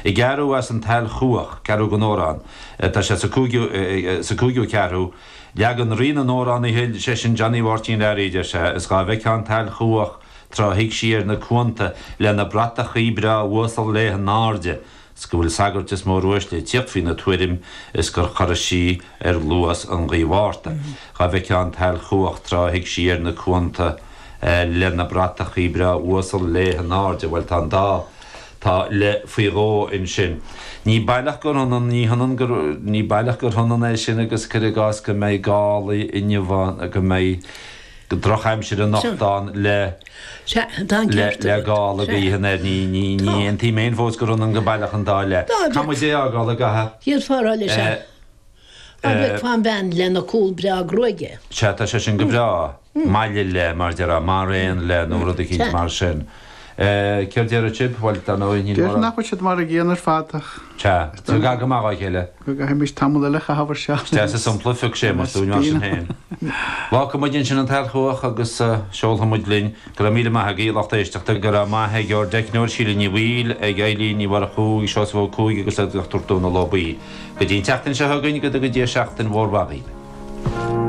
I gceathrú as an tSail Chuach, ceathrú den amhrán, tá sé sa cúigiú, sa cúigiú ceathrú, Leagan Rí na nAmhránaithe, sé sin Johnny Mháirtín Learaí, deir sé, is dhá bhfeictheá an tSail Chuach tráth a thig sí ar na cuanta lena bratachaí breá uasal léi in airde, 's go bhfuil sagairt is móruaisle ag tíocht faoina tuairim is gur chorraigh sí ar luas an ghaoth Mhárta. Dhá bhfeictheá an tSail Chuach tráth a thig sí ar na cuanta lena bratachaí breá uasal léi in airde, bhuel tá an dá, tá le faoi dhó ansin. Ní baileach gur ionann, ní hionann gur, ní baileach gur ionann é sin agus cuir i gcás go mbeidh gálaí inniu ann, go mbeidh drochaimsir anocht ann le. Sea, tá an le ceart agat. gála Sea. gaoithe anoir. Ní, ní, ní Tá. aontaím féin fós gur ionann go baileach an dá le. Dá Caithfidh muid é a fhágáil ag aha. D'fhéadfá a rá leis, sea. Dá bhfeicfeá an bhean lena cúl breá gruaige. Sea, tá sé sin go breá. Maille le, mar déarfá, mar aon le, nó rud eicínt Sea. mar sin. Céard déarfadh sibh? Bhuel, dar ndóigh, níl Déarfainn mórán. nach bhfuil siad mar a gcéanna ar fad ach. Sea, tá gar go maith dá chéile. Go gcaithfimis tamall eile a chaitheamh ar seo. Is deas an sampla a phioc Séamus dúinn mar sin féin. Fágfaidh muid ansin an tSail Chuach agus seolfaidh muid linn. Go raibh míle maith agaibh, lucht éisteachta. Go raibh maith ag ár dteicneoir Síle Ní Bhaoill, ag Eilín Ní Mhurchú, ag Seosamh Ó Cuaig agus ag Dr Dónal Ó Baoill. Go dtí an tseachtain seo chugainn, go dtuga Dia seachtain mhór mhaith dhaoibh.